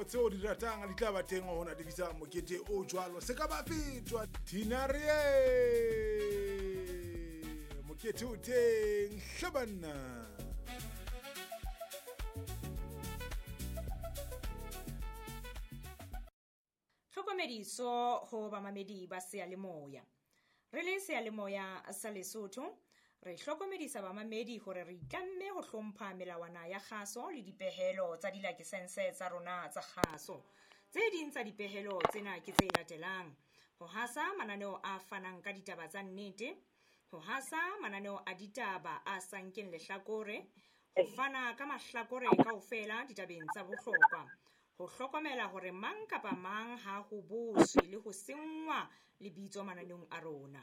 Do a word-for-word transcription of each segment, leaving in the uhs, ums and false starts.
tseo di ratang di tla ba teng ho natefisa mokete o jwalo. Se ka ba fetwa Tinarie, mokete o teng hle banna. Tlhokomediso ho bamamedi ba seyalemoya. Re le seyalemoya sa Lesotho, re hlokomedisa bamamedi hore re itlamme ho hlompha melawana ya kgaso le dipehelo tsa dilakesense tsa rona tsa kgaso. Tse ding tsa dipehelo tsena ke tse latelang: ho hasa mananeo a fanang ka ditaba tsa nnete, ho hasa mananeo a ditaba a sa nkeng lehlakore, ho fana ka mahlakore kaofela ditabeng tsa bohlokwa, ho hlokomela hore mang kapa mang ha ho boswe le ho senngwa lebitso mananeong a rona,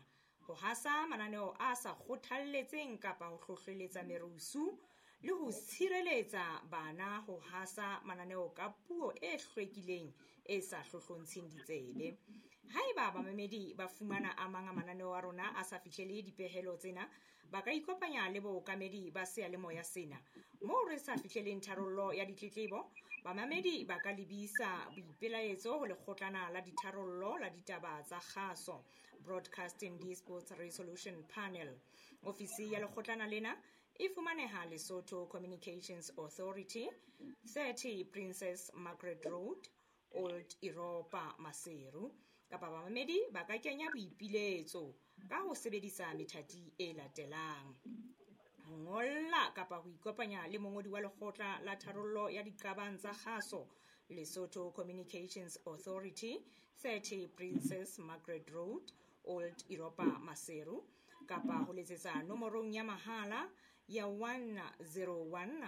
ho hasa mananeo a sa kgothalletseng kapa ho hlohleletsa merusu, le ho tshireletsa bana ho hasa mananeo ka puo e hlwekileng e sa hlohlontsheng ditsebe. Haeba bamamedi ba fumana a mang a mananeo a rona a sa fihlele dipehelo tsena, ba ka ikopanya le bookamedi ba seyalemoya sena. Moo re sa fihleleng tharollo ya ditletlebo, bamamedi ba ka lebisa boipelaetso ho lekgotlana la ditharollo la ditaba tsa kgaso, Broadcasting Disputes Resolution Panel. Ofisi ya lekgotlana lena e fumaneha Lesotho Communications Authority, thirty Princess Margaret Road, Old Europa, Maseru. Kapa bamamedi ba ka kenya boipiletso ka ho sebedisa methati e latelang: ho ngolla kapa ho ikopanya le mongodi wa lekgotla la tharollo ya diqabang tsa kgaso, Lesotho Communications Authority, thirty Princess Margaret Road, Old Europa, Maseru, kapa ho letsetsa nomorong ya mahala ya one zero one,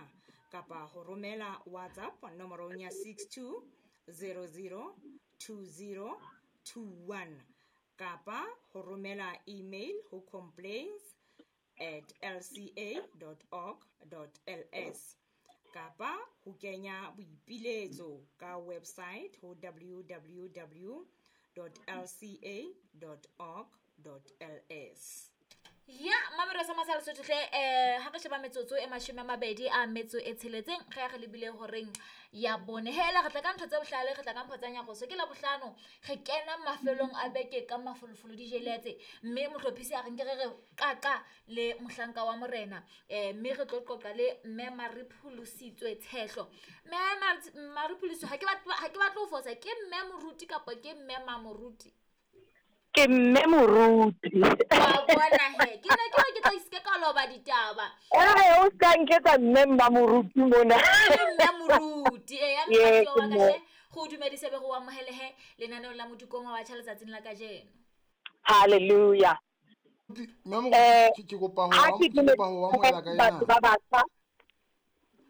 kapa ho romela WhatsApp nomorong ya six two zero zero two zero two one, kapa ho romela email ho complaints at l c a dot org dot l s, kapa ho kenya boipiletso ka website ho w w w dot l c a dot org dot l s. Ya mamelo sa masala Lesotho hle, eh ha re sheba metsotso e mashome a mabedi a metso e tsheletseng re ya re lebile horeng ya bone. Hela re tla ka ntho tse bohlale, re tla ka mpho tsa nyaroso. Ke la bohlano re kena mafelong a beke ka mafolofolo di jeletse, mme mohlophisi a re nke re re qaqa le mohlanka wa morena, eh mme re tlo qoqa le mme Maripholositswe Tshehlo. Mme Maripholositswe, ha ke batle ha ke batle ho fosa, ke mme moruti kapa ke mme mamoruti? Ke mme moruti. Wa bona he, ke ne ke re ke tla iske ka loba ditaba. Eh, o ska nketsa mme mmamoruti mona. Ke mme moruti, eh ya Ee, mokgwa wa ke ka mme. hle, go dumedise be go amohele he lenaneo la Modikong wa batjha letsatsing la kajeno. Hallelujah. Mme moruti, Eh, ke ke kopa ho ha am- ke ke kopa ho amohela ka batho ena. ba batjha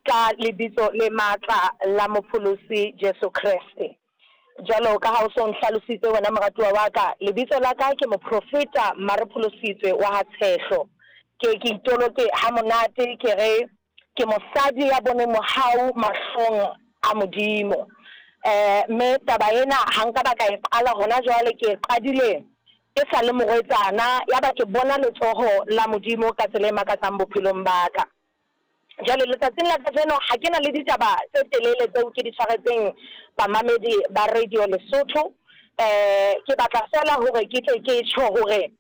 ka lebitso le matla la mopholosi Jesu Kreste. Jwalo ka ha o so nhlalositse wena moratuwa wa ka, lebitso la ka ke moprofeta Maripholositswe wa ha Tshehlo. Ke ke itoloke ha monate, ke re ke mosadi ya boneng mohau mahlong a Modimo. Eh, mme taba ena ha nka ba ka e qala hona jwale, ke e qadile ke sa le morwetsana, ya ba ke bona letsoho la Modimo ka tsela e makatsang bophelong ba ka. Jwale letsatsing la kajeno ha ke na le ditaba tse telele tseo ke di tshwaretseng bamamedi ba Radio Lesotho. Eh, ke batla fela hore ke tle ke tjho hore,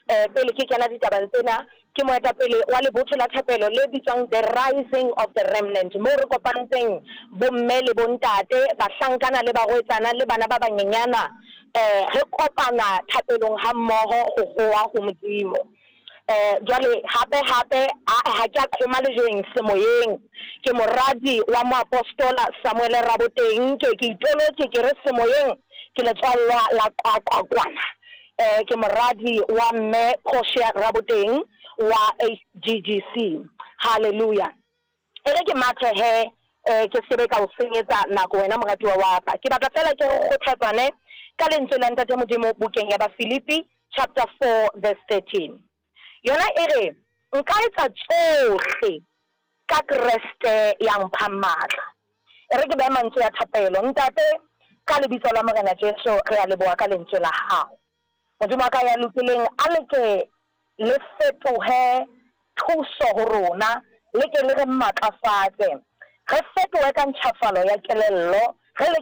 eh, pele ke kena ditabeng tsena, ke moetapele wa lebotho la thapelo le bitswang The Rising of the Remnant, moo re kopantseng bomme le bontate, bahlankana le barwetsana le bana ba banyenyana, eh, re kopana thapelong ha mmoho ho howa ho Modimo. Eh, jwale hape hape a ha ke a qhoma lejweng semoyeng, ke moradi wa moapostola Samuel Raboteng, ke ke itolotse ke re semoyeng ke letswallwa la Qwaqwa kwana. Eh, ke moradi wa mme Portia Raboteng wa H G G C. Hallelujah. E re ke mathe he, eh, ke sebe ka o senyetsa nako wena moratuwa wa ka. Ke batla fela ke re kgothatsane ka lentswe la Ntate Modimo bukeng ya Bafilipi chapter four verse thirteen. Yona e re nka etsa tsohle ka Kreste ya mphang matla. E re ke behe mantswe ya thapelo. Ntate, ka lebitso la Morena Jesu re a leboha ka lentswe la hao. Modimo wa ka ya lokileng, a le ke le fetohe thuso ho rona, le ke le re matlafatse. Re fetohe ka ntjhafalo ya kelello, re le